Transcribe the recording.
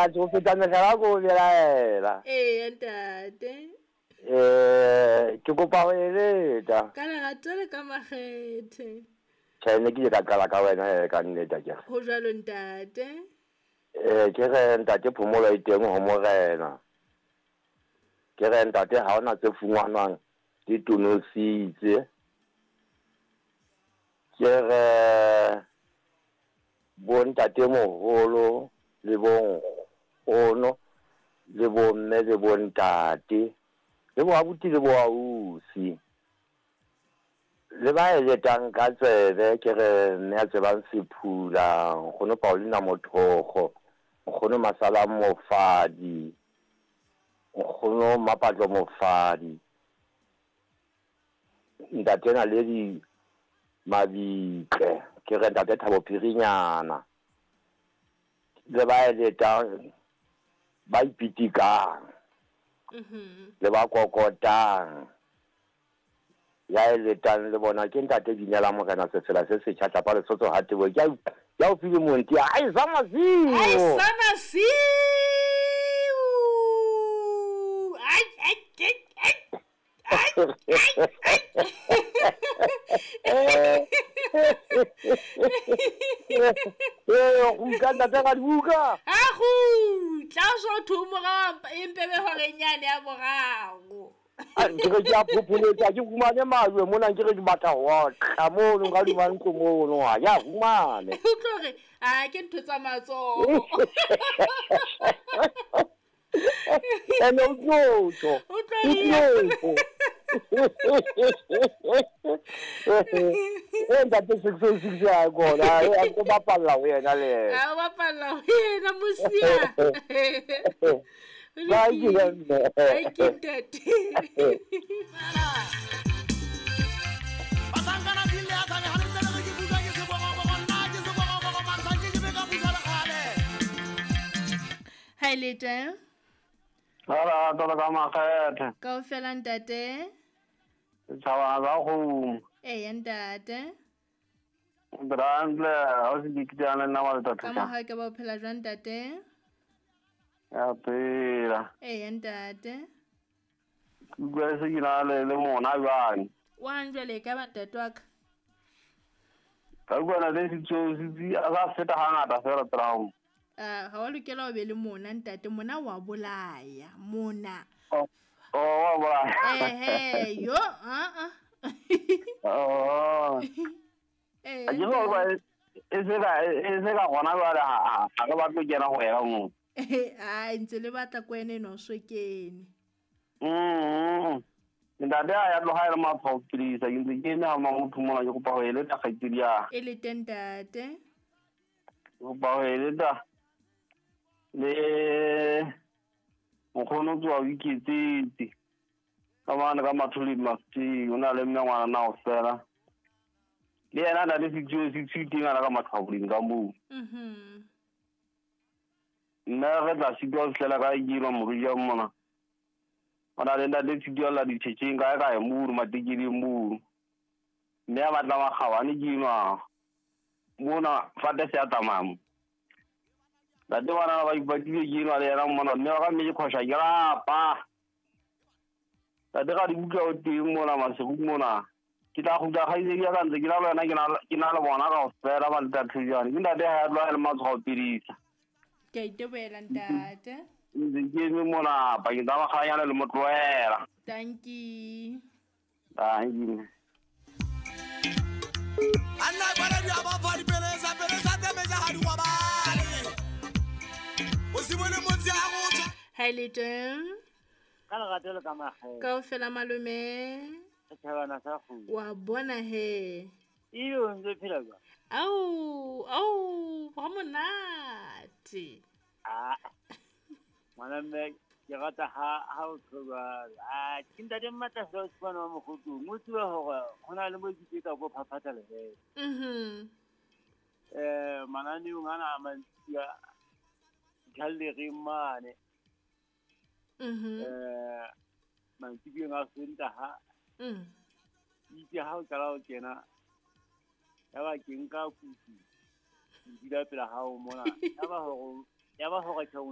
A go feta mehlala ko belaela. Ee, ntate. Ke kopa go eletsa. Ka lerato le ka makgethe. Tjhe, ne ke ile ka qala ka wena ka nnete akere. Ho jwalo ntate. Ke re ntate phomolo e teng ho morena. Ke re ntate ha hona tse fungwanwang di tonositse. Ke re bo ntate moholo le bo nkgono le bo mme le bo ntate le bo abuti le bo ausi le ba eletang ka tsebe. Ke re mme a tsebang Sephula, nkgono Paulina Mothogo, nkgono Masala Mofadi, nkgono Mapatlo Mofadi, ntate Naledi Mabitle, ke re ntate Thabo Phirinyana le ba eletang ba ipitikang le ba kokotang ya eletang le bona ke ntate Binela Morena Sefela se setjha tlapa Lesotho ha tebo ke ya o file monti ai sa masiu ai sa masiu ai ai ai ai ai. Go ntate ga dibuka a go tla so thumoga empebe hore nyane ya morago. Ke re ke a phopholetsa ke fumane majwe mona, ke re ke batla ho otla mono ka hodima ntlo mono, ha ke a fumane. O tlo re a ke ntho tsa matsoho. Ene o tlotlo. O tlo re ntate 606 ya kona a ko bapalla ho yena le yena. A bapalla ho yena mosia. Ba ke Ai ke ntate. Hi lete. Ala tolo ka makgethe. Kaofela ntate. Setjhaba sa kgomo. Ee ntate. Brantle, ha o se ke kitana le nna wa letsatsi. Ka mohau ke ba o phela jwang ntate? Ya phela. Ee ntate. Ke utlwa se ke na le mona jwang. Wa jwale ka ba ntate wa ka. Ka utlwa le sitso sitsi a sa feta hangata fela traum. Ha wa lokela ho be le mona ntate, mona wa bolaya mona. Oh wa bolaya. Ehe yo a. Oh. Eh. A ke go e se ka gona jwale ha re batle kena go yena mo. Ai ntse le batla ko ene no so kene. Ntate a ya tloga e le matshwao pilisa ke ntse ke eme ha motho mona ke kopa ho eletsa kgaitsedi ya. E le teng ntate. Ke kopa ho eletsa le nkgono tswa o iketsetse ka mane ka mathole mafti o na le mme ngwana na o fela le yena na le 606 teng ana ka matshwaoleng ka moo. Nna re tla sitwa ho fihlela ka ikelo morija mona. O na le ntate sitwa la ditšhetšeng kae kae mono matekeleng mono. Mme a batla makgabane ke enwa mona fate se a tsamaya mo. Ntate bana ba ipatile ke enwa le yena mona mme wa ka mme ke khosha ke rapa. Ntate ga dibuka o teng mona masigo mona. Ke tla kgutla kgaitsedi ya ka ntse ke na le wena ke na le bona kaofela ba ntate jwale. Ke ntate ha ya tloha e le matshwao pilisa. Ke a itebohela ntate. Ntse ke eme mona pakeng tsa makganyane le motlohela. Dankie. Dankie. Anna bana di aba fa di pelesa pelesa teme ja ha di kwabale. O se bone motse a go tswa. Hi le teng. Ka lerato le ka makgethe. Kaofela malome. Setjhabana sa kgomo. Wa bona he. Iyo ntse phela jwang? Au, au, ha monate. Ah. Ngwana mme ke rata ha o tloba. Ah, ke ntate Mmatla fela o tshwana wa Mokgotong. O tsebe hore ho na le mo ke ka go phaphatha lehele. Mananeong ana a mantsi a gallery mane. Mantsibueng a Sontaha. Itse ha o qala ho kena ya ba ke nka kutu ke dula pela hao mona ya ba hore ya ba hore tjho